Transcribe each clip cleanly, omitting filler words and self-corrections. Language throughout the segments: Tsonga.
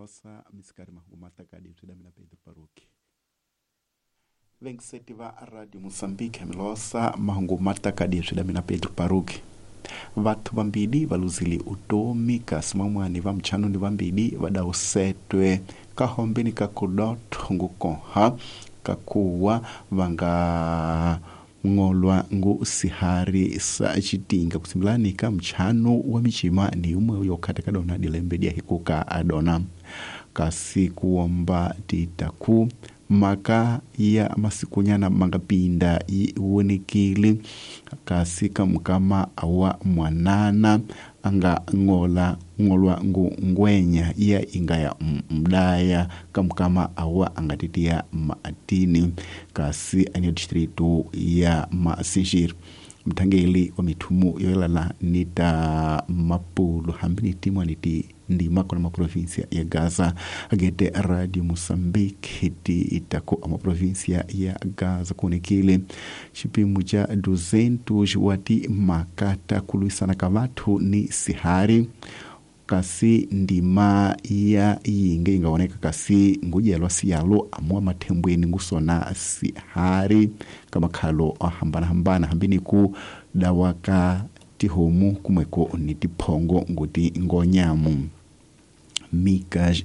Milosa misikari mahungu matakadi byi mina Pedro Paruki. Vengiseti va Radio Mozambique Milosa mahungu matakadi byi mina Pedro Paruki. Vathu vambili va luzile utomi kasi van'wani va mutshanu ni vambili va dawusetwe ka hombeni ka kudotho ngukoha kakuwa va nga ngolwa ngu sihari sa xitinga kusimbilani ka mutshanu wa micima ni yumwe yo khata ka dona dilembe dia hikuka adona kasi kuomba titaku maka ya masikunyana mangapinda yi vonekile kasi ka mukama wa mwanana anga ngola ngolwa ngu ngwenya ya inga ya mdaya ka mukama awa angatitia maatini kasi anyo distritu ya Masinjiri. Mthangeli wa mithumu yoyelana ni ta Mapulo hambi ni timwani ti ndima kona maprovinsia ya Gaza agete Radio Mozambique ti itako a maprovinsia ya Gaza kuonekile xipimo xa 200 wa timhaka ta ku lwisana ka vathu ni sihari kasi ndima ya yinge yi nga voneka kasi ngudyelwa siyalo amuwa mathembweni ngusona sihari ka makhalo o hambanahambana hambi ni ku dawa ka tihomu kumweko ni tiphongo nguti ngonyamu Mika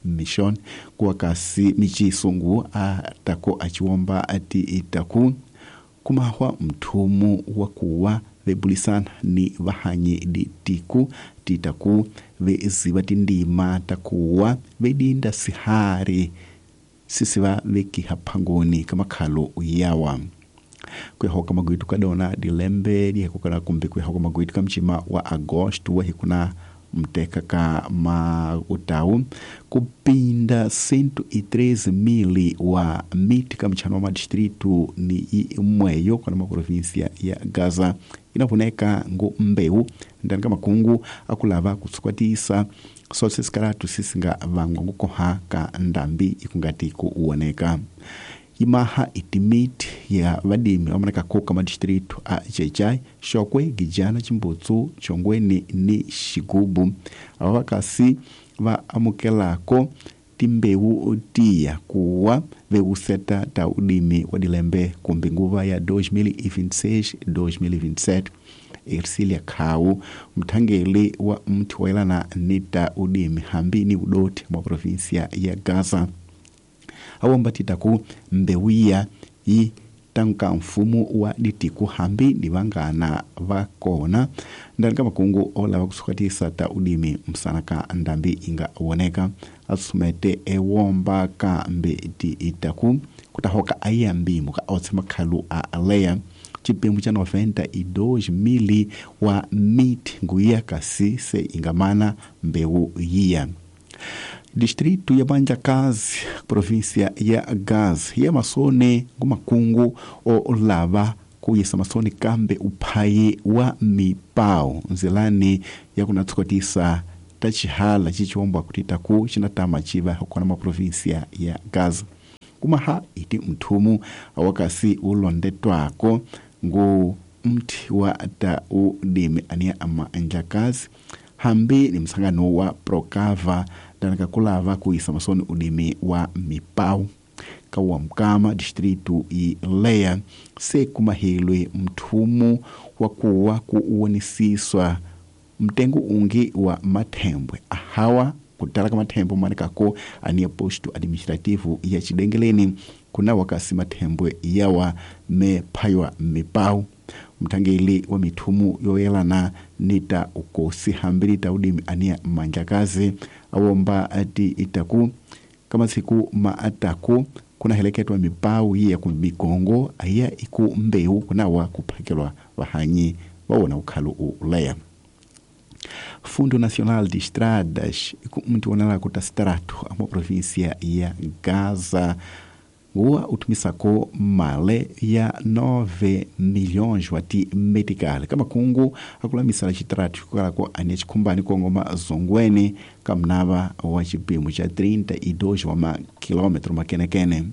Mission kuwa kasi michisungu a tako achiwomba ati itaku kumahwa mthumu wa kuwa vebulisana ni vahanyi ditiku titaku veziva tindima takuwa vedinda sihari sisiva vekiha phangoni ka makhalo yawa kuyahoka magwitu ka dona dilembe dihekukana kumbe kuyahoka magwitu ka mcima wa agosto wa hikuna mteka ka mautau kupinda 113,000 wa miti ka mchano wa madistritu ni imweyo kana maprovinsia ya Gaza inavoneka ngu mbeu ndani ka makungu akulava kusukwatisa sose sikaratu sisinga vangwa ngukoha ka ndambi ikungati kuwoneka imaha itimiti ya vadimi vamanaka ka madistritu a Xai-Xai, Xokwe, Gijana, Chimbutsu, Chongweni ni Xigubu ava vakasi va amukelako timbewu tiya kuwa vewuseta ta udimi wa dilembe kumbe nguva ya 2026-2027. Ercilia Khau mthangeli wa mthi wayelana ni ta udimi hambi ni udoti mwa provinsia ya Gaza awomba titaku mbewu iya yi tanka mfumo wa ditiku hambi ni vangana va kona ndani ka makungu olava kusukatisa ta udimi msana ka ndambi inga woneka asumete ewomba ka mbe ti itaku kutahoka ayambimu ka otse makhalu a aleya chipimo cha 92,000 wa miti nguya kasi se ingamana mbewu yiya. Distrito ya Banjakazi, província ya Gaza, ya masone ngumakungu olava kuyisa masone kambe uphayi wa mipao nzilani ya kunatsukotisa ta chihala chichiwombwa kuti taku chinatama chiva hokona maprovinsia ya Gaza. Kumaha iti mthumu awakasi ulondetwako ngu mthi wa ta udimi ania ama Njakazi hambi ni msangano wa Procava danaka kulava kuisa masoni udimi wa mipau kawa mkama distritu ileya se kumahilwe mthumu wa kuwa kuuonisiswa mtengo ungi wa mathembwe ahawa kutala ka mathembwe manekako ania posto administrativo ya Chidengeleni kuna wakasi mathembwe yawa mephaywa mipau. Mthangeli wa mithumu yoyelana nita ukosi hambi nita udimi ania Manjakazi awomba ati itaku kama siku maataku kuna heleketwa mipau yiya ku migongo aya iku mbeu kunawa kuphakelwa vahanyi wawona ukhalu uleya. Fundo Nacional de Estradas iku mntu onala kuta sitaratu ama província ya Gaza nguwa utumisako male ya 9 milhões wati medical kama kungu akulamisala chitratu kukalako ania chikhumbani kongoma zongweni kamnava wa chipimo cha 32 wa makilômetro makenekene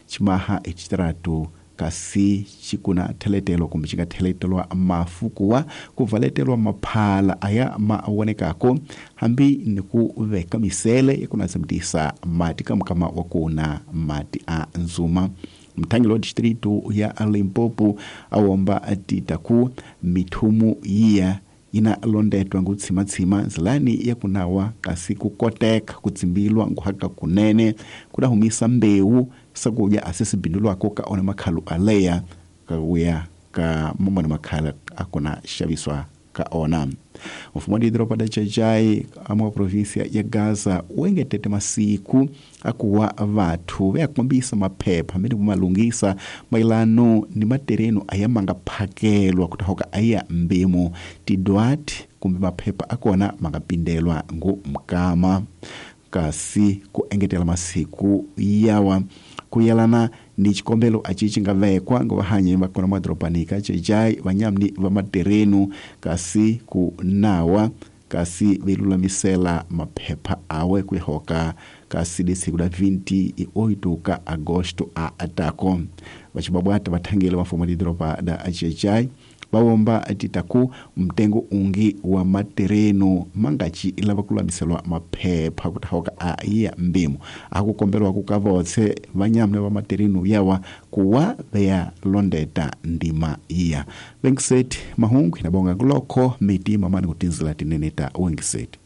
chimaha echitratu kasi xikuna theletelo kumbe xi nga theletelwa mafu kuwa ku valetelwa maphala aya ma vonekako hambi ni ku veka misele ya ku natsemutisa mati ka mukama wa kuna mati a nzuma. Mthangeli wa distritu ya Limpopo awomba tita ku mithumu yiya ina londetwa ngutshimatshima nzilani ya kunawa kasi kukoteka kutsimbilwa nguhaka kunene kudahumisa mbewu sakudya asesibindulwako ka ona makhalu aleya kakuya ka mamona makhala akuna xaviswa ka ona. Mfumo wa didoropa da Xai-Xai ama província ya Gaza wu engetete masiku akuwa vathu va ya kombisa maphepha mene kumalungisa mayelano ni matereno aya manga phakelwa kutahoka aya mbemu tidwati kumbe maphepha akona manga pindelwa ngu mkama kasi ku engetela masiku yawa kuyelana ni xikombelo aci xi nga vekwa ngo vahanyi va kona madorobani ka Xai-Xai vanyamni va materenu kasi ku nawa kasi velulamisela maphepha awe kuihoka kasi lesiku la 28 ka agosto a atako vacibabwata vathangeli va mfumo lidoroba da Xai-Xai vawomba titaku mtengo ungi wa matereno mangaci lava kululamiselwa maphepha kutahoka a ya mbimo akukombelwa ku ka votse vanyamne va matereno yawa kuwa veya londeta ndima iya. Wengiseti mahungu inabonga kulokho miti mamani kutinzila tinene ta wengiseti.